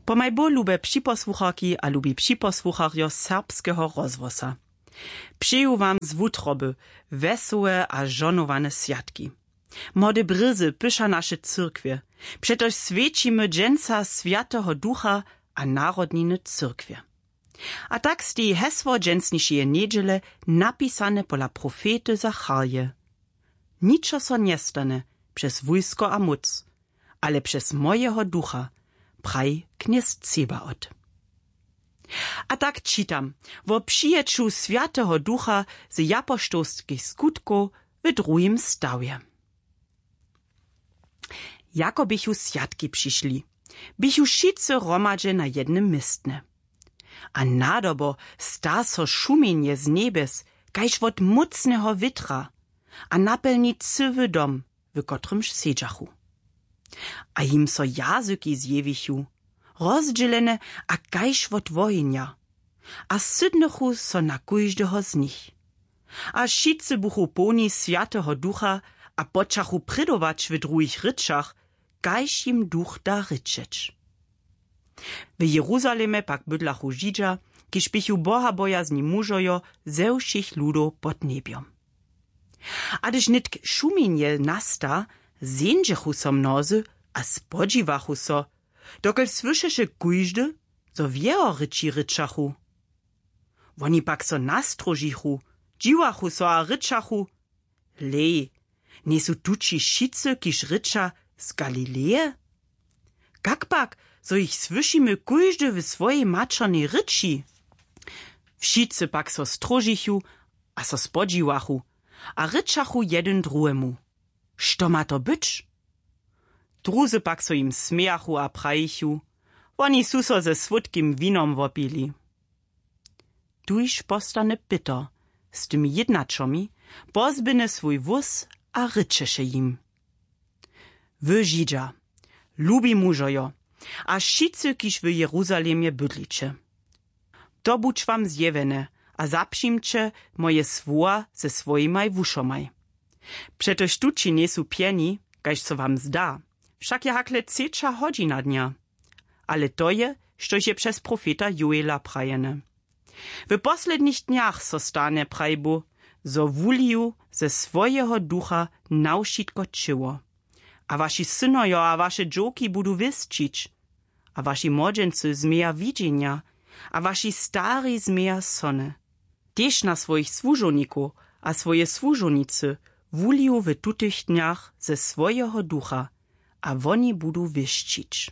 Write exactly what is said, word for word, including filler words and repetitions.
Pomaj bóh, lube připosłucharki a lubi připosłucharjo serbskeho rozhłosa, přeju wam z wutroby wesołe a žohnowane swjatki. Młode brězy pyša naše cyrkwje, přetož swjećimy dźensa swjateho ducha a narodniny cyrkwje. A tak steji hesło dźensnišeje njedźele, napisane pola profety zacharje: „Ničo so njestanje přez wójsko a móc, ale přez mojeho ducha, praji knjez Cebaot.“ A tak čitam wo přijeću swjateho ducha z japoštołskich skutkow w druhim stawje. Jako běchu swjatki přišli, běchu wšitcy hromadźe na jednym městnje. A nadobo sta so šumjenje z njebjes kaž wot mócneho wětra a napjelni cyły dom, w kotrymž sedźachu. A jim so jazyki zjewichu, rozdźělene a kaž wot wohenja, a sydnychu so na kóždeho z nich. A wšitcy buchu połni swjateho ducha a počachu prědować w druhich rěčach, kaž jim duch da rěčeć. W jeruzalemje pak bydlachu židźa, kiž běchu bohabojazni mužojo ze wšěch ludow pod njebjom. A hdyž nětk šumjenje nasta, zeńdźechu so mnozy a spodźiwachu so, dokelž słyšeše kóždy, zo w jeho rěči rěčachu. Woni pak so nastróžichu, dźiwachu so a rěčachu: „Hlej, njejsu tući wšitcy, kiž rěča, z Galileje? Kak pak, zo jich słyšimy kóždy w swojej maćernej rěči?“ Wšitcy pak so stróžichu a so spodźiwachu a rěčachu jedyn druhemu: „Što ma to być?“ Druzy pak so jim smějachu a prajichu: „Woni su so ze słódkim winom wopili.“ Tuž postane Pětr z tymi jědnaćomi, pozběhny swój wóz a rěčeše jim: „Wy Židźa, lubi mužojo, a wšitcy, kiž w Jeruzalemje bydliće, to budź wam zjewjene a zapřimće moje słowa ze swojimaj wušomaj. Přetož tući njejsu pjeni, kaž so wam zda, wšak je hakle třeća hodźina dnja. Ale to je, štož je přez profeta Joela prajene: W poslednich dnjach so stanje, praji Bóh, zo wuliju ze swojeho ducha na wšitko ćěło. A waši synojo a waše dźowki budu wěsćić, a waši młodźency změja widźenja, a waši stari změja sony. Tež na swojich słužownikow a swoje słužownicy wuliju w tutych dnjach ze swojeho ducha, a woni budu wěsćić.“